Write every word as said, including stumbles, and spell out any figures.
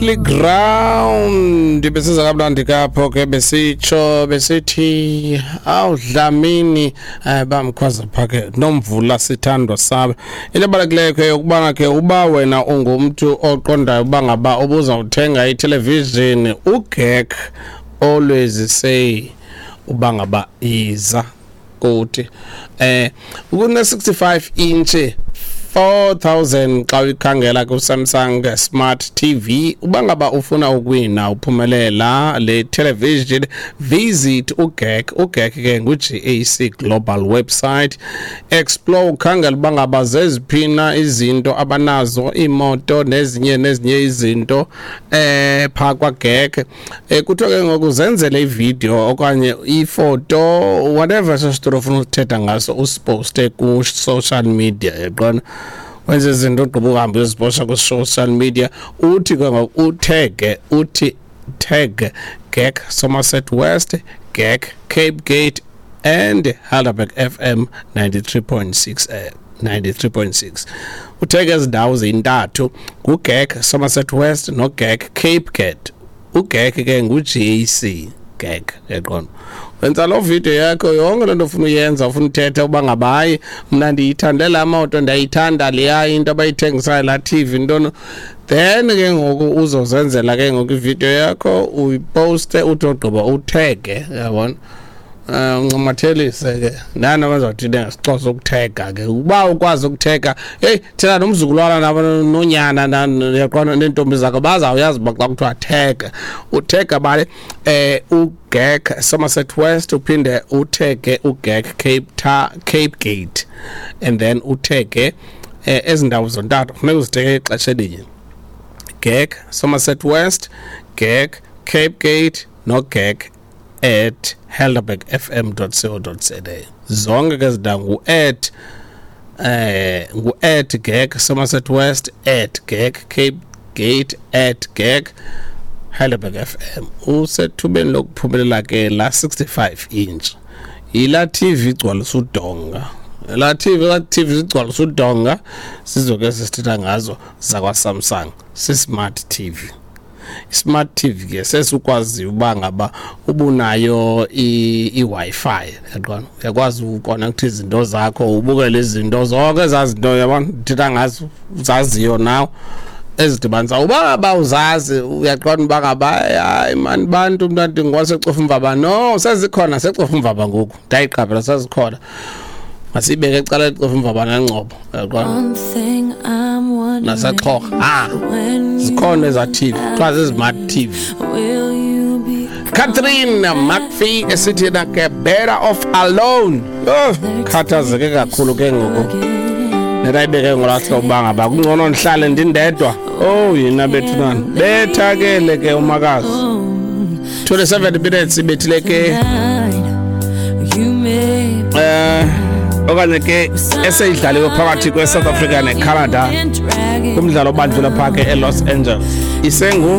Ground besiza kamnandi kapho ke, besitsho besithi awudlamini eh, bamkhwaza pha ke nomvula sithandwa sabe. Into ebalulekileyo ke yokubana ke uba wena ungumntu oqondayo uba ngaba ubuzawuthenga ithelevishini, uGek always say uba ngaba iza kuthi eh kune sixty-five inch four thousand xa uyikhangela ku-Samsung Smart T V. Uba ngaba ufuna ukuwina, uphumelela le television, visit uGek. UGek ke ngu-G A C Global website, explore, ukhangela uba ngaba zeziphina izinto abanazo, iimoto nezinye nezinye izinto eh phaa kwaGek. eh kuthiwa ke ngoku zenzele ividiyo okanye ifoto, whatever sesitoro ufuna ukuthetha ngaso, usiposte ku-social media, yaqona, wenze izinto, ugqiba uhambe uyoziposta kwi-social media. Uthi ke ngoku uthege, uthi tag Gek Somerset West, Gek Cape Gate and Helderberg F M ninety-three point six, eh ninety-three point six. Uthege ezi ndawo zintathu, nguGek Somerset West noGek Cape Gate. UGek ke ngu-G A C Gek, yaqona. Wenza loo video yakho, yonke loo nto ufuna uyenza, ufuna uthetha uba ngabayi, mna ndiyithande laa moto, ndiyayithanda leya into abayithengisayo, laa T V, ntoni. Then ke ngoku uzozenzela ke ngoku ividiyo yakho, uyiposte, uthi ogqiba uthege, yabona, um uncamathelise ke nani abazawuthi ngesiXhosa ukuthega ke. Uba ukwazi ukuthega, heyi, thina nomzukulwana nabo nonyana, yaqona, neentombi zakho bazawuyazi uba xa kuthiwa thega, uthega bale eh uGek Somerset West, uphinde uthege uGek Cape Ta Cape Gate and then uthege eh ezi ndawo zontathu. Funeka uzithege ixesha elinye: Gek Somerset West, Gek Cape Gate noGek at helderberg F M dot co dot za. Zonke ke zindawo ngu-at eh ngu-at Gek Somerset West, at Gek Cape Gate, at Gek Heidelberg F M. Usethubeni lokuphumelela ke la sixty-five inch, yila T V igcwalisa udonga, la T V, la T V zigcwalisa udonga sizoke sisithetha ngazo zakwa Samsung, si-smart T V. Smart T V ke sesukwazi uba ngaba ubunayo i-Wi-Fi, yaqona, uyakwazi uconnect izinto zakho, ubukele izinto zonke ezazinto, yabona, ndithetha ngazo uzaziyo nawe ezidibanisa uba ngaba uzazi, uyaqonda uba ngaba hayi mani bantu, mntu ndingwaseCofimvaba. No, sezikhona seCofimvaba ngoku, ndayiqaphela sezikhona. Masiyibeke ecala eCofimvaba naNgcobo, uyaqonda, One thing I'm wondering, naseXhorha, ah, when you zikhona eza T V kuthiwa zii-smart T V. will you be Catherine McPhee esithi na ke "Better Off Alone". Oh, khathazeke kakhulu ke ngoku netayibeke ngolaa hlobo uba ngaba kungcono ndihlale ndindedwa. Oh, yina bethunana, bethakele ke umakazi. twenty-seven minutes ibethile ke You may eh okanye ke eseyidlaliwe phakathi kwe-South Africa neCanada kumdlalo obanjelwe phaa ke eLos Angeles isengu